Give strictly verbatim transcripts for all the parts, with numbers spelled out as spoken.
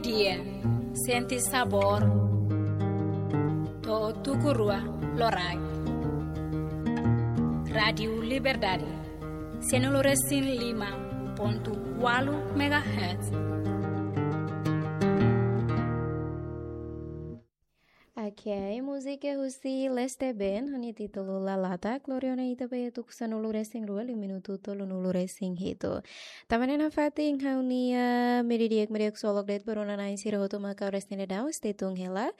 Dia, sente sabór. To'o tuku rua loraik. Rádiu Liberdade, sianulu resin lima pontu ualu megahertz. Ok, múzika husi Leste Band, ho nia títulu Lalata, Gloriona ita be tuku sanulu resin rua, liu minutu tolunulu resin hitu. Tanba ne'e nafatin ha'u-nia meiudia di'ak, meiudia di'ak ksolok de'it ba rona-na'in sira hotu mak ha'u resende daudaun, stay tune hela.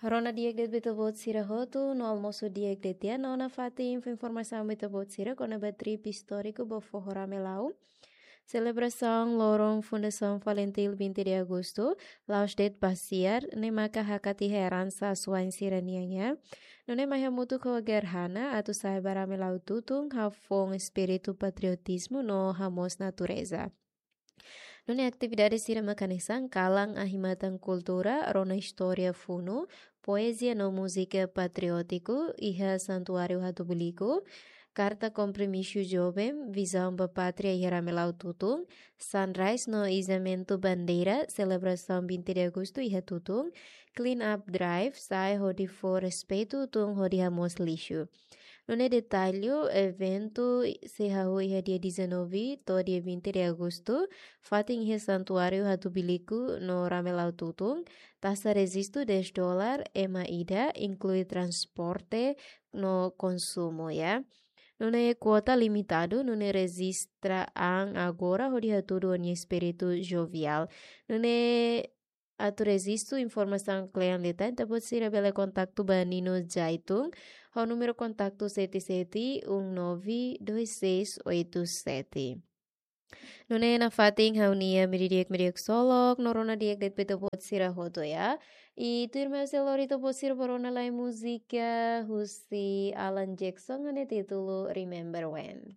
Rona di'ak de'it ba ita-boot sira hotu, no almosu di'ak de'it tiha, no nafatin fó informasaun ba ita-boot sira kona-ba trip istóriku ba foho Ramelau. Selebrasaun loron Fundasaun FALINTIL vinte de agosto, la'ós de'it pasiar, ne'e maka hakat iha eransa asuwa'in sira-nian, ya. Nune'e mai hamutuk ho Gerhana, atu sa'e ba Ramelau tutun, hafoun espíritu patriotizmu no hamoos natureza. Nune'e atividade sira mak hanesan kalan ahi-matan kultura, rona istória funu, poezia no múzika patriótiku, iha Santuáriu Hatubuiliku, karta kompromisu joven, vizaun ba pátria iha Ramelau tutun, sunrise no izamentu bandeira, selebrasaun vinte de agosto iha tutun, clean up drive, sa'e hodi fó respeitu tun hodi hamoos lixu. Nune'e detalle, eventu sei hahú iha dia dezanove to'o dia vinte de agosto, fatin iha Santuáriu Hatubuiliku no Ramelau tutun, taxa rejistu dez dólar, ema ida, inklui transporte no konsumu, ya. Nune'e kuota limitadu, nune'e rejista an agora hodi hatudu ó-nia espíritu joviál. Nune'e atu rejistu informasaun kle'an liután, ita-boot sira bele kontaktu ba Nino Jaitun, ho númeru kontaktu sete sete um nove dois seis oito sete. Nune'e nafatin ha'u-nia meiudia di'ak, meiudia di'ak ksolok, no rona di'ak de'it ba ita-boot sira hotu, ya. I tuirmai ha'u sei lori ita-boot sira ba rona lai múzika husi Alan Jackson, ho nia títulu Remember When.